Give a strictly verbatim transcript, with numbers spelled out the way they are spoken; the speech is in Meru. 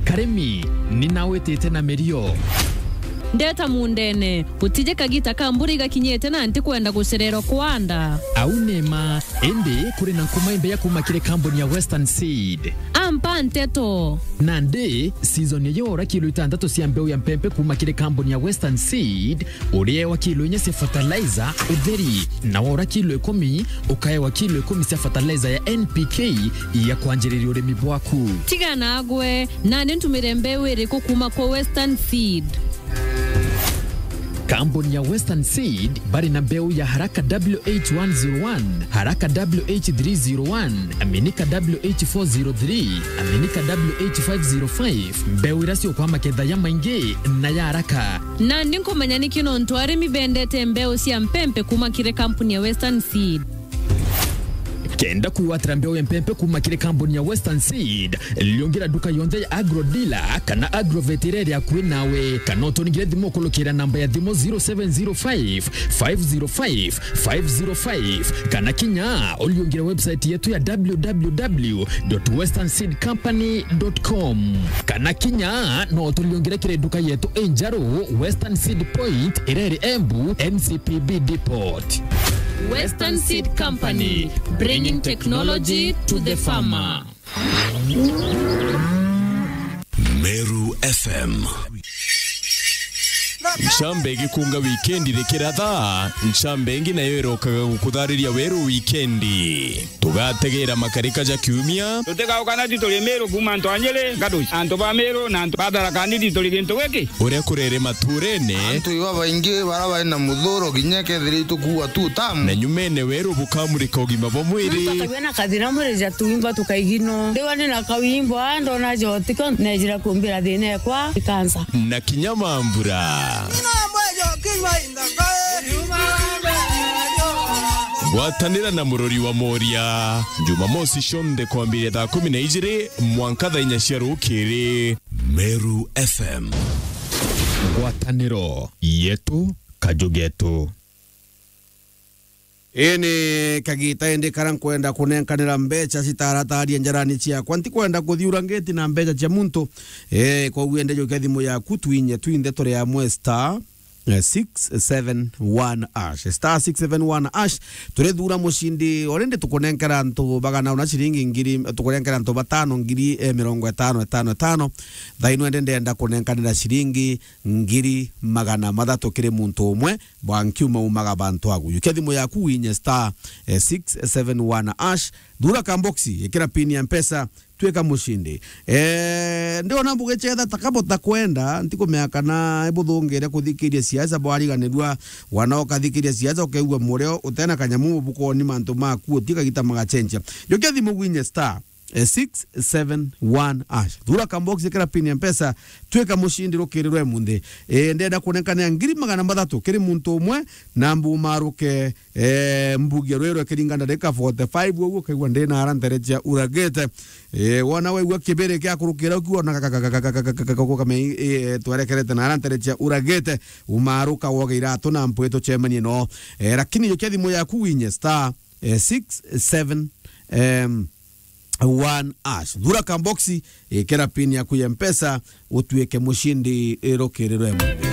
Karimi, ni nawitite na mirio. Ndeta mundene, gutije kagita ka mbura igakinyite na ntikwenda gucererwa kwanda. Au ni ma, indi kuri na nkuma imbeya kuma kiri kambuni ya Western Seed. Ampa nteto. Nandi, season ya yora kilo itantatu cia mbeu ya mpempe kuma kiri kambuni ya Western Seed, uriewa kilo inya cia fertilizer utheri, na wora kilo ikumi, ukaewa kilo ikumi cia fertilizer ya N P K ya kwanjiriria urimi bwaku. Tiga nagwe, nani ntumire mbeu iriku kuma kwa Western Seed? Kambuni ya Western Seed bari na mbeu ya Haraka W H one zero one, Haraka W H three zero one, Aminika W H four zero three, Aminika W H five zero five, mbeu iria ciukwa maketha ya maingi na ya haraka. Nandi nkumenya niki nontu arimi bendete mbeu cia mpempe kuma kiri kampuni ya Western Seed. Kenda kwigwatira mbeu ya mpempe kuma kiri kampuni ya Western Seed, liungira nduka yonthe ya Agro Dealer kana Agrovet iria iri akui nawe, kana uturingire thimu ukurukira namba ya thimu zero seven zero five, five zero five, five zero five, kana kinya uliungire website yetu ya w w w dot western seed company dot com. Kana kinya no turiungire kiri nduka yetu injeru, Western Seed Point, iria iri Embu, N C P B Depot. Western Seed Company, bringing technology to the farmer. Meru F M. Ncambe igikunga wikendi rikiratha, ncambe ingi nayo irokaga gukuthariria weru wikendi. Tugategera makarika ja kiumia. Tutigauka na ti turi Meru kuma antu a Nyeri, Gaduci, antu ba Meru na antu ba Tharaka Nithi turi gintu giki. Uria kurere maturene. Antu iba baingi bara bari na muthuro kinya kethira itukuua tu tamu. Na nyumene weru bukamurika ugima bwa mwiri. Tutagia na kathina mwiri ja tuimba tukaigino. Ndiwa ni na kawimbo, a, ndona jotiko, nejira kumbira thina ekwa, ikansa. Na kinya mambura. Gwatanira na murori wa Moria, Jumamosi cionthe kwambiria thaa kumi na ijiri mwanka thaa inya cia rukiri. Meru F M. Ngwataniro yetu, kaju getu. Ii ni kagita indi karia nkwenda kunenkanira mbeca citarataaria njarani ciakwa. Ntikwenda kuthiura ngiti na mbeca cia muntu. Eh, koguo ende jukia thimu yaku, twinye twinthe turi amwe star, eh, six seven one hash. Star six seven one hash. Turithuura mucindi, already tukunenkera antu bagana una ciringi ngiri, tukunenkera antu batano ngiri, eh, mirongo itano, itano, itano. Thaino ende ndenda kunenkanira ciringi ngiri magana mathatu kiri muntu umwe. Bwa nkiuma umaga bantu agu. Jukia thimu yaku winye star, eh, six seven one hash. Thuura kamboxi, ikira pin ya Mpesa, twika mucindi. Eh, ndiona bugicetha ta kabo ta kwenda, ntikumenya kana ibuthungire kuthikiria siasa bwariganirua, wana ukathikiria siasa ukeigua murio utena kanyamu mubukoni mantu maku uti kagita magacenjia. Jukia thimu winye star, eh, six seven one hash. Thuura kamboxi, ikira pin ya Mpesa, twika mucindi rukiri rwa imunthi. Eh, ndenda kunenkanira ngiri magana mathatu kiri muntu umwe, na mbumaruke, eh, mbugia rwiro kiringa ndarika forty-five, uguo ukaigua ndina ara ntere cia uragite. Eh, wona waigua kibiri kia kurukira ukiwa na kame, eh, twerekerete na ara ntere cia uragite, umaruka woge iratu na mpwi tucemanie no. Eh, lakini jukia thimu yaku winye star, eh, six seven, em, one hash. Thuura kamboxi, ikira pin yaku ya Mpesa, utuike mucindi rukiri rwa imunthi.